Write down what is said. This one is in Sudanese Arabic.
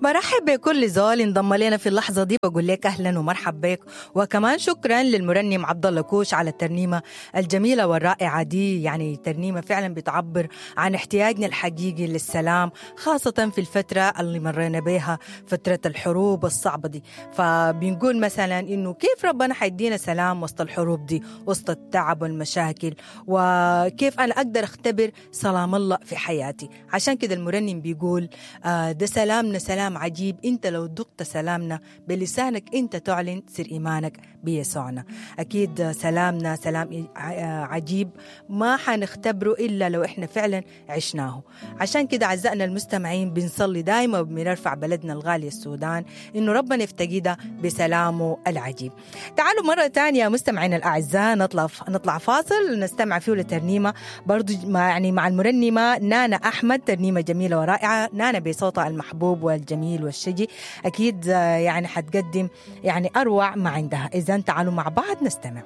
برحب بكل زول انضم لنا في اللحظة دي، بقول لك أهلا ومرحب بك، وكمان شكرا للمرنم عبد الله كوش على الترنيمة الجميلة والرائعة دي. يعني ترنيمة فعلا بتعبر عن احتياجنا الحقيقي للسلام، خاصة في الفترة اللي مرينا بها، فترة الحروب الصعبة دي. فبنقول مثلا إنه كيف ربنا حيدينا سلام وسط الحروب دي، وسط التعب والمشاكل، وكيف أنا أقدر أختبر سلام الله في حياتي. عشان كده المرنم بيقول ده سلامنا سلام عجيب، انت لو ذقت سلامنا بلسانك انت تعلن سر ايمانك بيسوعنا. اكيد سلامنا سلام عجيب ما حنختبره الا لو احنا فعلا عشناه. عشان كده اعزائنا المستمعين بنصلي دائما وبنرفع بلدنا الغالي السودان انه ربنا يفتقدها بسلامه العجيب. تعالوا مرة ثانية مستمعينا الاعزاء نطلع فاصل نستمع فيه لترنيمه برضو يعني مع المرنمه نانا احمد، ترنيمة جميلة ورائعة، نانا بصوتها المحبوب والجميل والشجي، أكيد يعني حتقدم يعني أروع ما عندها. إذن تعالوا مع بعض نستمع.